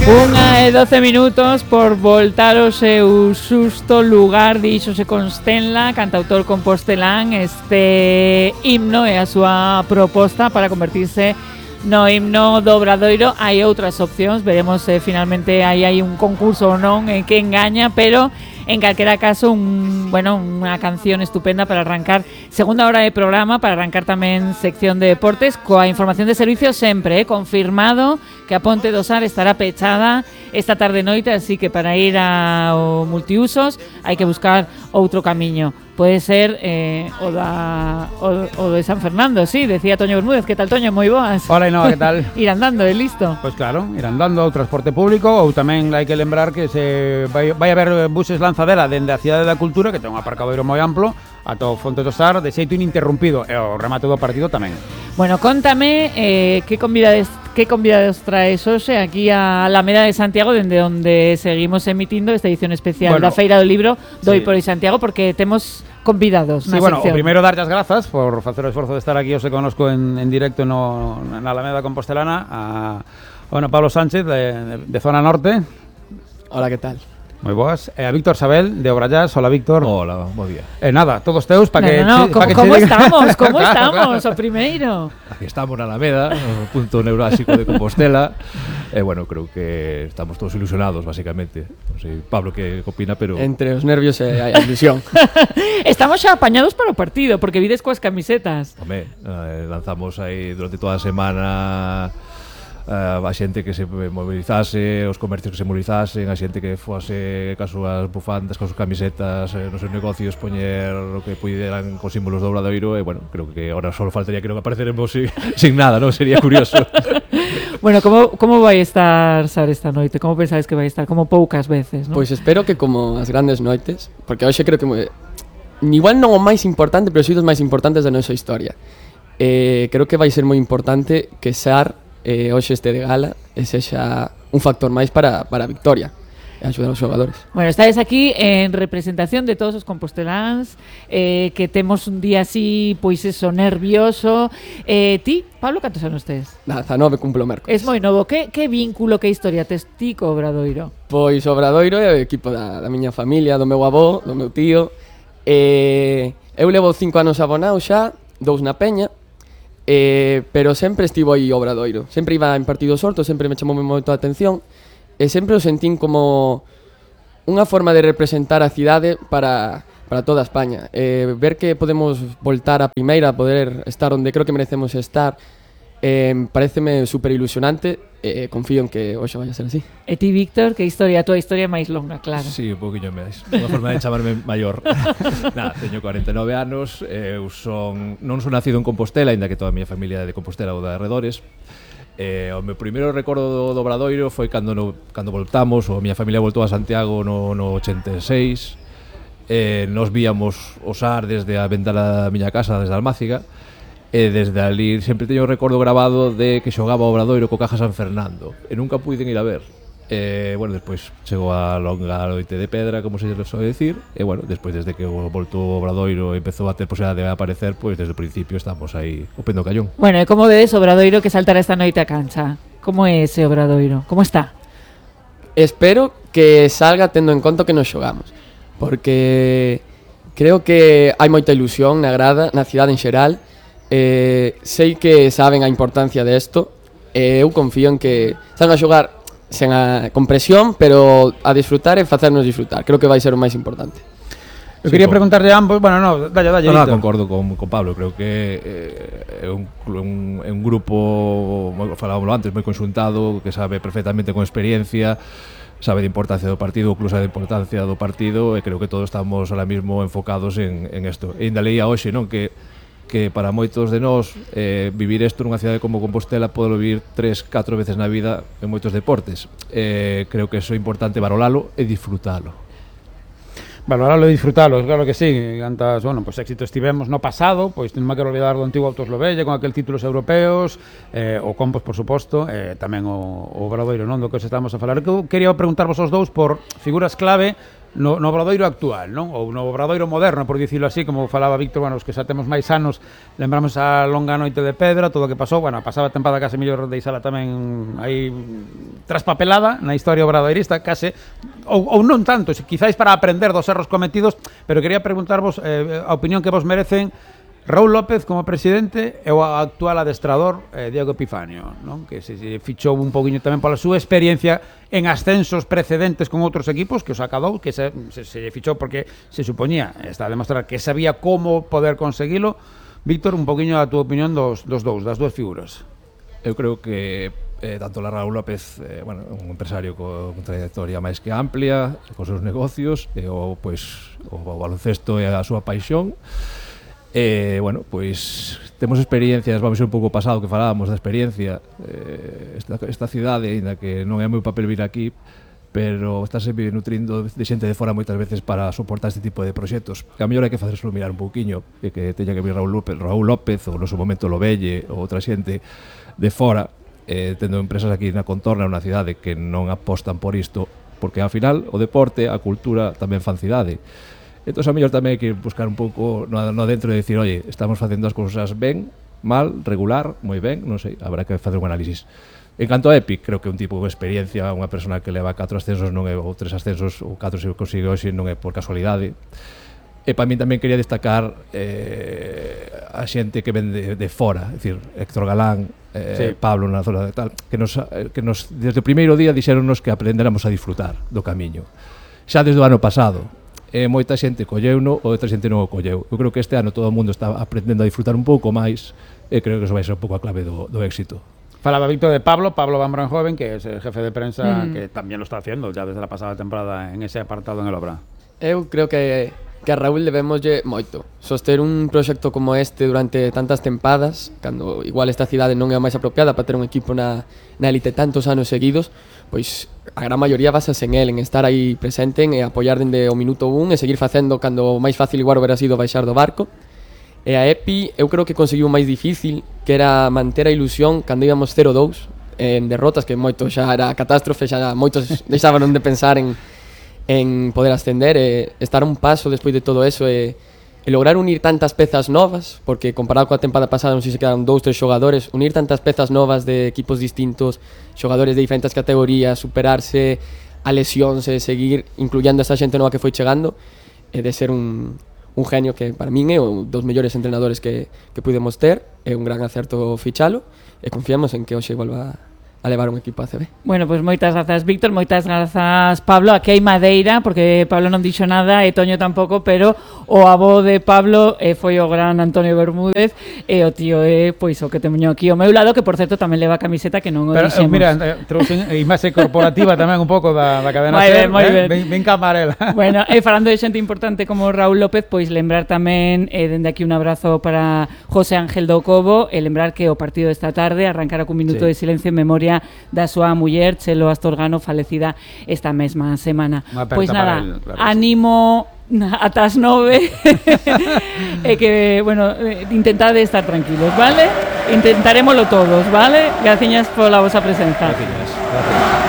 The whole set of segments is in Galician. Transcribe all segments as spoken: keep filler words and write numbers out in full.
Unha e doce minutos por voltar ao seu susto lugar, díxose Constenla, cantautor compostelán. Este himno é a súa proposta para convertirse no himno do Obradoiro. Hai outras opcións, veremos se eh, finalmente aí hai un concurso ou non en que engaña, pero en calquera caso un, bueno, unha canción estupenda para arrancar segunda hora de programa, para arrancar tamén sección de deportes coa información de servicios sempre, eh, confirmado que a Ponte do Sar estará pechada esta tarde noite, así que para ir ao multiusos hai que buscar outro camiño. Pode ser eh, o, da, o, o de San Fernando, sí, decía Toño Bermúdez. Que tal, Toño? Moi boas. Hola, Inoa, que tal? Ir andando, é listo? Pois pues claro, ir andando ao transporte público, ou tamén hai que lembrar que se vai, vai haber buses lanzadera dende a Cidade da Cultura, que ten un aparcadoiro moi amplo, ata o Fonte do Sar, de xeito ininterrumpido, e o remate do partido tamén. Bueno, contame eh, que convidades que convidados traes hoxe aquí a Alameda de Santiago, dende onde seguimos emitindo esta edición especial bueno, da Feira do Libro do sí. Hipólito Santiago, porque temos convidados na sí, bueno, sección. O primeiro darlle as grazas por facer o esforzo de estar aquí hoxe conosco en, en directo no, na Alameda Compostelana a bueno, Pablo Sánchez de, de Zona Norte. Hola, que tal? Moi boas. E a Víctor Sabel de Obrallás. Hola, Víctor. Hola, bo día. E nada, todos teus para no, que... No, no, pa como, que como che... estamos? Como claro, estamos? claro. O primeiro. Aquí estamos na Alameda, o punto neurálxico de Compostela. E, eh, bueno, creo que estamos todos ilusionados, basicamente. Non sei, Pablo, que opina, pero... Entre os nervios e a ilusión. Estamos xa apañados para o partido, porque vides coas camisetas. Home, eh, lanzamos aí durante toda a semana... Uh, a xente que se mobilizase, os comercios que se movilizasen, a xente que fose cas súas bufandas, cas súas camisetas, eh, nos seus negocios poñer o que puderan con símbolos do Obradoiro, e bueno, creo que ahora só faltaría que non apareceremos sin, sin nada, non? Sería curioso. Bueno, como, como vai estar Sar esta noite? Como pensades que vai estar? Como poucas veces, non? Pois espero que como as grandes noites, porque hoxe creo que me... igual non o máis importante, pero si dos máis importantes da nosa historia. Eh, creo que vai ser moi importante que Sar eh, hoxe este de gala e sexa un factor máis para, para a victoria e axudar aos xogadores. Bueno, estades aquí en representación de todos os composteláns, eh, que temos un día así, pois eso, nervioso. Eh, ti, Pablo, cantos anos tes? dezanove cumplo o mércoles. Es moi novo. Que, que vínculo, que historia tes ti co Obradoiro? Pois o Obradoiro é o equipo da, da miña familia, do meu avó, do meu tío. Eh, eu levo cinco anos abonado xa, dous na Peña. Eh, pero sempre estivo aí o Obradoiro. Sempre iba en partidos sortos, sempre me chamou moito a atención e sempre o sentín como unha forma de representar a cidade para, para toda España. Eh, ver que podemos voltar a primeira, poder estar onde creo que merecemos estar, eh, pareceme super ilusionante e eh, confío en que hoxe vai a ser así. E ti, Víctor, que historia? A tua historia é máis longa, claro. Sí, un poquinho máis. Unha forma de chamarme maior. Nada, teño cuarenta e nove anos, eu son non son nacido en Compostela, aínda que toda a miña familia é de Compostela ou de arredores. Eh, o meu primeiro recordo do, do Obradoiro foi cando no, cando voltamos, ou a miña familia voltou a Santiago no, no ochenta e seis. Eh, nos víamos o Sar desde a ventana da miña casa, desde a Almáciga. E desde ali sempre teño o recordo grabado de que xogaba o Obradoiro co Caja San Fernando e nunca puiden ir a ver. E, bueno, despois chegou a longa noite de pedra, como se soe decir, e, bueno, despois desde que voltou o Obradoiro e empezou a ter posibilidade de aparecer, pois desde o principio estamos aí o pendo callón. Bueno, e como vedes o Obradoiro que saltará esta noite a cancha? Como é ese Obradoiro? Como está? Espero que salga tendo en conta que nos xogamos, porque creo que hai moita ilusión na grada, na cidade en xeral. Eh, sei que saben a importancia desto e eu confío en que saben a xogar sen a, con presión, pero a disfrutar e facernos disfrutar. Creo que vai ser o máis importante. Eu quería sí, preguntarle a ambos, bueno, no, dalle, dalle, no, no, concordo con, con Pablo, creo que eh, é un, un, un grupo, falábamos antes, moi conxuntado, que sabe perfectamente con experiencia, sabe de importancia do partido, incluso de importancia do partido, e creo que todos estamos ahora mismo enfocados en, en esto. E ainda leía hoxe, non, que que para moitos de nós eh, vivir isto nunha cidade como Compostela pode vivir tres, catro veces na vida en moitos deportes. Eh, creo que iso é importante valoralo e disfrutalo. Valoralo e disfrutalo, claro que sí. Cantas, bueno, pues éxitos tivemos no pasado, pois non me quero olvidar do antigo Autos Lobelle con aquel títulos europeos, eh, o Compos, por suposto, eh, tamén o, o Obradoiro, non, do que os estamos a falar. Que eu quería preguntarvos aos dous por figuras clave no, no obradoiro actual, non? Ou no obradoiro moderno, por dicirlo así, como falaba Víctor, bueno, os que xa temos máis anos, lembramos a longa noite de Pedra, todo o que pasou, bueno, pasaba a tempada case mellor deixala tamén aí traspapelada na historia obradoirista, case, ou, ou non tanto, quizáis para aprender dos erros cometidos, pero quería preguntarvos eh, a opinión que vos merecen Raúl López como presidente e o actual adestrador eh, Diego Epifanio, non? Que se, se fichou un poquinho tamén pola súa experiencia en ascensos precedentes con outros equipos que os acadou, que se, se, se fichou porque se supoñía, está a demostrar que sabía como poder conseguilo. Víctor, un poquinho a túa opinión dos, dos dous, das dúas figuras. Eu creo que eh, tanto la Raúl López, eh, bueno, un empresario con trayectoria máis que amplia, cos seus negocios, e o, pois, o baloncesto é a súa paixón. Eh, bueno, pois temos experiencias, vamos a ir un pouco pasado que falábamos da experiencia, eh, esta, esta cidade, ainda que non é meu papel vir aquí, pero está sempre nutrindo de xente de fora moitas veces para soportar este tipo de proxectos. E a mellor hai que facérselo mirar un pouquiño, e que teña que vir Raúl López, Raúl López ou no seu momento Lobelle ou outra xente de fora, eh, tendo empresas aquí na contorna, unha cidade que non apostan por isto, porque ao final o deporte, a cultura tamén fan cidade. Entón, a mellor tamén hai que buscar un pouco no, no dentro de decir, oye, estamos facendo as cousas ben, mal, regular, moi ben, non sei, habrá que facer un análisis. En canto a Epic, creo que un tipo de experiencia, unha persona que leva catro ascensos non é, ou tres ascensos, ou catro se consigue hoxe non é por casualidade. E para mí tamén quería destacar eh, a xente que ven de, de fora, é dicir, Héctor Galán, eh, sí. Pablo na zona de tal, que nos, que nos desde o primeiro día dixéronnos que aprendéramos a disfrutar do camiño. Xa desde o ano pasado, e moita xente colleuno ou outra xente non o colleu. Eu creo que este ano todo o mundo está aprendendo a disfrutar un pouco máis e creo que eso vai ser un pouco a clave do, do éxito. Falaba Víctor de Pablo, Pablo Van Branhoven, que es el jefe de prensa, mm. que también lo está haciendo ya desde la pasada temporada en ese apartado en el Obra. Eu creo que, que a Raúl debemoslle moito. Soster un proxecto como este durante tantas tempadas, cando igual esta cidade non é a máis apropiada para ter un equipo na, na elite tantos anos seguidos, pois a gran maioría basase en el, en estar aí presente, en apoiar dende o minuto un e seguir facendo cando o máis fácil igual hubiera sido baixar do barco. E a Epi eu creo que conseguiu o máis difícil, que era manter a ilusión cando íbamos cero dous en derrotas, que moito xa era catástrofe, xa moitos deixaban de pensar en, en poder ascender, e estar un paso despois de todo eso e, e lograr unir tantas pezas novas, porque comparado coa tempada pasada non sei se quedaron dous, tres xogadores, unir tantas pezas novas de equipos distintos, xogadores de diferentes categorías, superarse a lesións e seguir incluyendo a esa xente nova que foi chegando, e de ser un, un genio que para min é un dos mellores entrenadores que, que pudemos ter, é un gran acerto fichalo, e confiamos en que hoxe volva a levar un equipo a C B. Bueno, pois pues moitas grazas, Víctor, moitas grazas, Pablo. Aquí hai madeira, porque Pablo non dixo nada e Toño tampouco, pero o avó de Pablo eh, foi o gran Antonio Bermúdez e o tío é, pois, o que teño aquí ao meu lado, que por certo tamén leva camiseta que non o pero, dixemos. Mira, eh, trouxen imaxe corporativa tamén un pouco da, da cadena moi ben, moi eh? ben. Ben, ben camarela. Bueno, e falando de xente importante como Raúl López, pois lembrar tamén, eh, dende aquí un abrazo para José Ángel do Cobo, e lembrar que o partido desta tarde arrancará cun minuto sí. de silencio en memoria da súa muller, Chelo Astorgano, falecida esta mesma semana. Pois nada, el, claro, animo ata as nove e que, bueno, intentade estar tranquilos, vale? Intentarémoslo todos, vale? Graciñas pola vosa presenza. Graciñas, gracias.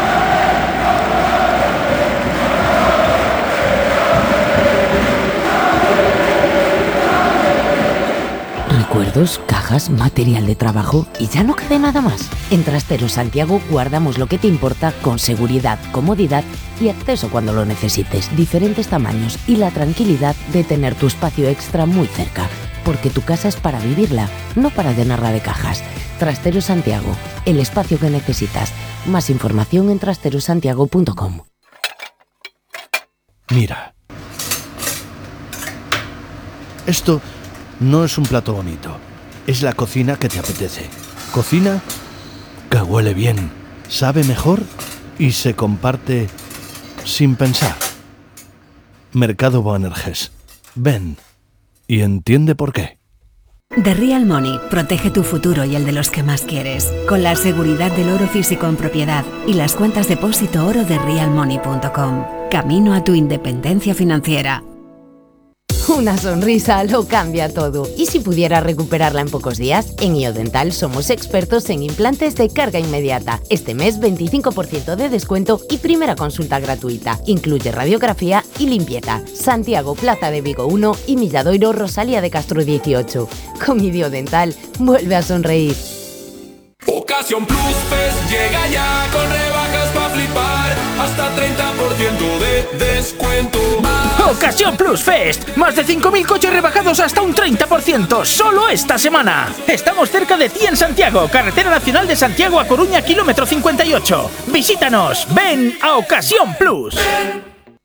Recuerdos, cajas, material de trabajo y ya no queda nada más. En Trasteros Santiago guardamos lo que te importa con seguridad, comodidad y acceso cuando lo necesites. Diferentes tamaños y la tranquilidad de tener tu espacio extra muy cerca. Porque tu casa es para vivirla, no para llenarla de cajas. Trasteros Santiago, el espacio que necesitas. Más información en trasteros santiago punto com. Mira. Esto no es un plato bonito, es la cocina que te apetece. Cocina que huele bien, sabe mejor y se comparte sin pensar. Mercado Boanerges. Ven y entiende por qué. The Real Money protege tu futuro y el de los que más quieres, con la seguridad del oro físico en propiedad y las cuentas depósito oro de real money punto com. Camino a tu independencia financiera. Una sonrisa lo cambia todo. ¿Y si pudiera recuperarla en pocos días? En Iodental somos expertos en implantes de carga inmediata. Este mes veinticinco por ciento de descuento y primera consulta gratuita. Incluye radiografía y limpieza. Santiago, Plaza de Vigo uno y Milladoiro, Rosalía de Castro dieciocho. Con Iodental, vuelve a sonreír. Ocasión Plus Fest llega ya con rebajas para flipar, hasta treinta por ciento de descuento. Ocasión Plus Fest, más de cinco mil coches rebajados hasta un treinta por ciento, solo esta semana. Estamos cerca de ti en Santiago, Carretera Nacional de Santiago a Coruña, kilómetro cincuenta y ocho. Visítanos, ven a Ocasión Plus.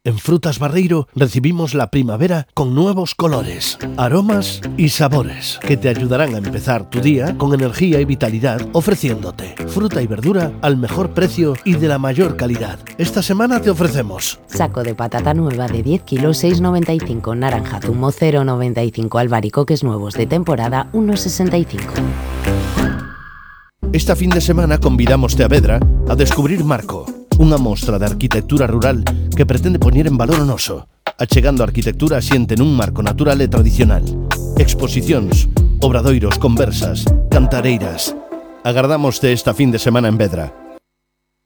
En Frutas Barreiro recibimos la primavera con nuevos colores, aromas y sabores que te ayudarán a empezar tu día con energía y vitalidad, ofreciéndote fruta y verdura al mejor precio y de la mayor calidad. Esta semana te ofrecemos saco de patata nueva de diez kilos, seis noventa y cinco, naranja zumo cero noventa y cinco, albaricoques nuevos de temporada uno sesenta y cinco. Esta fin de semana convidamos a Vedra a descubrir Marco, unha mostra de arquitectura rural que pretende poñer en valor o noso, achegando a arquitectura asiente nun marco natural e tradicional. Exposicións, obradoiros, conversas, cantareiras. Agardámoste esta fin de semana en Vedra.